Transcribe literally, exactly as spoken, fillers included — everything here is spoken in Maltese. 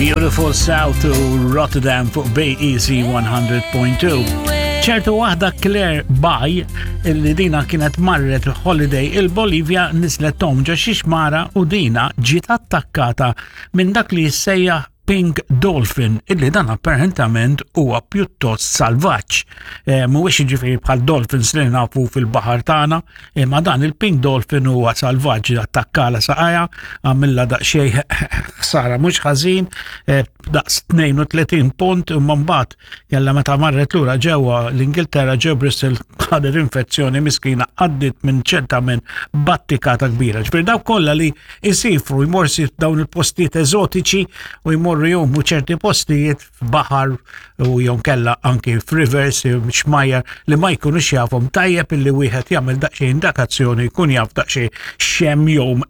Beautiful South to Rotterdam fuq B E C one hundred point two. Ċertu waħda Claire Bay, illi dina kienet marret holiday il-Bolivja, nislet tgħum ġo xi xmara u dina ġiet attakkata minn dak li jissejjaħ Pink Dolphin, illi dan apparentament huwa pjuttost salvaġġ. E, Mhuwiex jiġifieri bħal dolphins li nafu fil-baħar tagħna, imma dan il-Pink Dolphin huwa salvaġġ, attakkalha saqajha, għamilha daqsxejn ħsara mhux ħażin, e, daqs tnejn u tletin punt, imma mbagħad jalla meta marret lura ġewwa l-Ingilterra, ġew Bristol, ħadet infezzjoni miskina, għaddit minn ċerta minn battikata kbira. Ġifieri dawk kollha li jsifru, jmorru dawn il-postijiet eżotiċi u jmorru jgħumu ċerti postijiet f'baħar u jonkella anki f'rivers, xmajjar li ma jkunux jafhom, tajjeb illi wieħed jagħmel daqsxejn indakazzjoni, jkun jaf daqsxejn x'hemm jgħum.